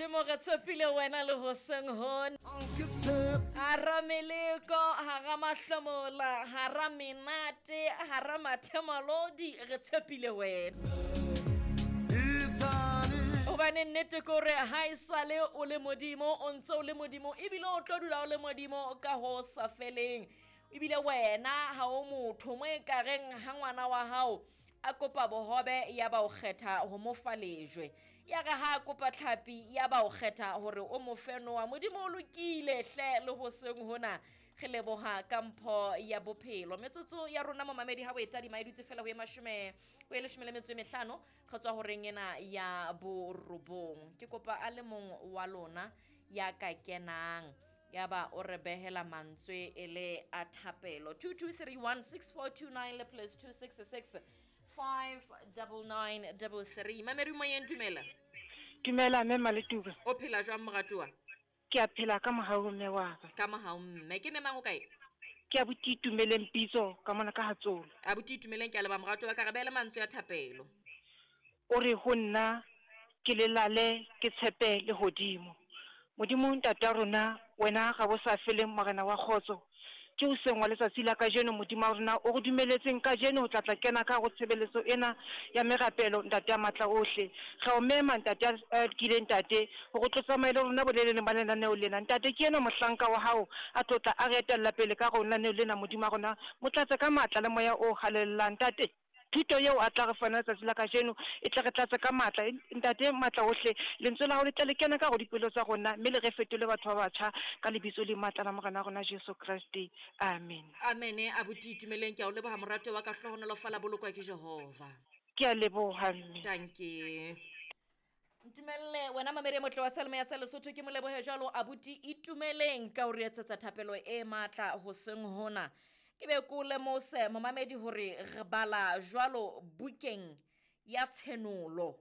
Modimo re tshepile wena le hoseng hona. Hara meleko, hara mahlomola, hara menate, hara mathemalodi, re tshepile wena. Hobane nnete ke hore ha e sale o le Modimo, o ntse o le Modimo, ebile o tlo dula o le Modimo ka ho sa feleng. Ebile wena ha o motho mo e kareng ha ngwana wa hao a kopa bohobe ya ba o kgetha ho mo fa lejwe. Ya re ha a kopa tlhapi ya ba o kgetha hore o mo fe noa. Modimo o lokile hle le hoseng hona. Re leboha ka mpho ya bophelo. Metsotso ya rona momamedi ha o e tadima e dutse fela ho e mashome ho e leshome le metso e mehlano re tswa horeng ena ya borobong. Ke kopa a le mong wa lona ya ka kenang ya ba o re behela mantswe e le a thapelo. 22316429 le plus 266 59933. Mamedi moyeng, dumela. Dumela mme Maletuba. O phela jwang moratuwa? Ke a phela ka mohau mme wa ka. Ka mohau mme. Ke memang o kae? Ke abuti Itumeleng Pitso ka mona ka Hatsolo. Abuti Itumeleng, ke a leboha moratuwa ka re behele mantswe a thapelo. O re ho nna ke lelale ke tshepe lehodimo. Modimo Ntata rona, wena ga bo sa feleng Morena wa kgotso. Ke hoseng wa letsatsi la kajeno Modimo wa rona o re dumeletseng kajeno ho tla tla kena ka ho tshebeletso ena ya merapelo Ntate ya matla ohle. Re a o mema Ntate ya lokileng Ntate hore o tlo tsamaye le rona boleleleng ba lenaneo lena. Ntate ke enwa mohlanka wa hao a tlo tla a re etella pele ka ho lenaneo lena Modimo wa rona. Mo tlatse ka matla le moya o halalelang Ntate. Thuto eo a tla re fa yona letsatsi la kajeno e tle re tlatse ka matla. Ntate matla ohle, Lentswe la hao le tle le kene ka hare ho dipelo tsa rona mme le re fetole batho ba batjha ka lebitso le matla la Morena wa rona Jesu Kreste. Amen. Amene abuti Itumeleng, ke a o leboha moratuwa wa ka, hlohonolofala bolokwa ke Jehova. Ke a leboha mme. Dankie. Ntumelle wena mamedi e motle wa Salome ya sa Lesotho, ke mo lebohe jwalo abuti Itumeleng ka ho re etsetsa thapelo e matla hoseng hona. Ke be ko lemose momamedi hore re bala jwalo bukeng ya Tshenolo.